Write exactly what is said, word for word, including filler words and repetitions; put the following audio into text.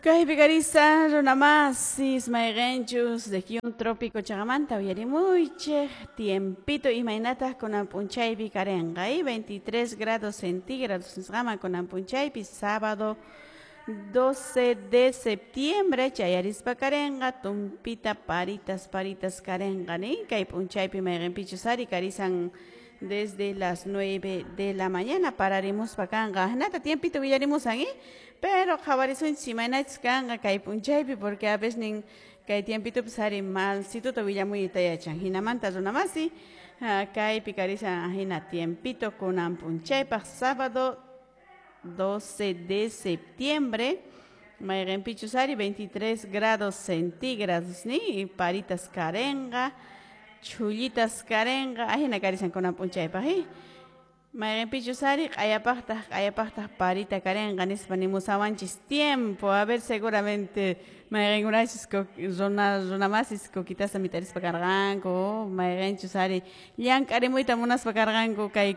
Kaypi karisan runamasis mayqinchus región trópico chaqamanta uyarimuychik tiempito imaynataq kunan p'unchaypi karinqa veintitrés grados centígrados nisqaman kunan p'unchaypi sábado doce de septiembre chayarispa karinqa tumpita paritas paritas karinqa nin kay p'unchaypi mayqinpichus ari karisan desde las nueve de la mañana pararimuspa kanqa ahinata tiempito willarimusan eh pero qhawarisunchis imaynachus kanqa kay p'unchaypi porque a veces nin kay tiempitupis ari malsituta willamuyta yachan hinamanta runamasi kaypi karisan ahina tiempito kunan p'unchaypaq sábado doce de septiembre mayqinpichus ari veintitrés grados centígrados ni paritas karinqa chhullitas karinqa ahina karisan kunan p'unchaypaq eh mayqinpichus ari q'ayapaqtaq q'ayapaqtaq parita karinqa nispa nimusawanchis tiempo a ver seguramente mayqinkunachus runa runamasis coquitasta mit'arispa karqanku mayqinchus ari llank'arimuyta munaspa karqanku kay.